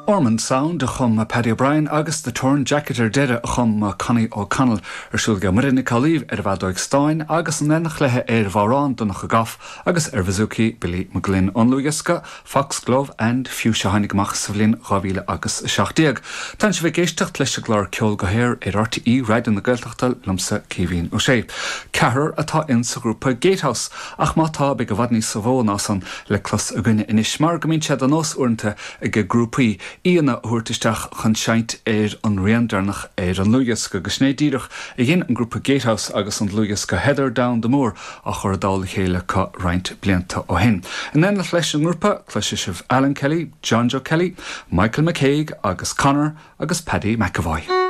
Ormond Sound a chum Paddy O'Brien agus The Torn Jacket ar deireadh a chum Connie O'Connell. Ar siúl aige Muireann Nic Amhlaoibh ar an bhfeadóig stáin agus in éineacht léi ar bhodhrán Donncha Goff agus ar bhouzouki Billy McGlynn. Ón ndlúthdhiosca Foxglove and Fuchsia a tháinig amach sa bhliain 2017. Tánn sibh ag éisteacht leis an gclár Ceol go hAer ar RTÉ Raidió na Gaeltachta liomsa Caoimhín Ó Sé. Ceathrar atá in sa ghrúpa Gatehouse ach má tá beidh i bhfad níos mó ná san le clos againne anois mar go mbíonn sé de nós uaireanta ag grúpaí aíonna a thabhairt isteach chun seinnt ar an rian deireanach ar an ndlúthdhiosca agus sin é díreach a dhein an grúpa Gatehouse agus an dlúthdhiosca Heather Down the Moor á chur i dtoll a chéile acu roinnt blianta ó shin. In éineacht leis an ngrúpa, cloisfidh sibh Alan Kelly, John Joe Kelly, Michael McCague agus Conor agus Paddy McEvoy.